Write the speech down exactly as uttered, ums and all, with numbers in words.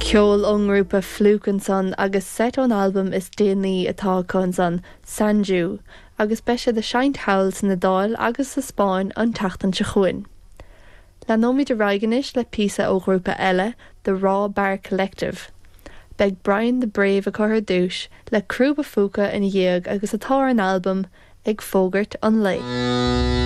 Ceol ón ngrúpa Fluke ansan agus seit ón albam is déanaí atá acu ansan Sanju, agus beidh siad ag seinnt thall san Iodáil agus sa Spáinn an tseachtain seo chugainn. Leanfaimid ar aghaidh anois le píosa ó ghrúpa eile, The Raw Bar Collective. Beidh Brian the Brave acu ar dtús le Crúba Phúca ina dhiaidh agus atá ar an albam ag fógairt an lae.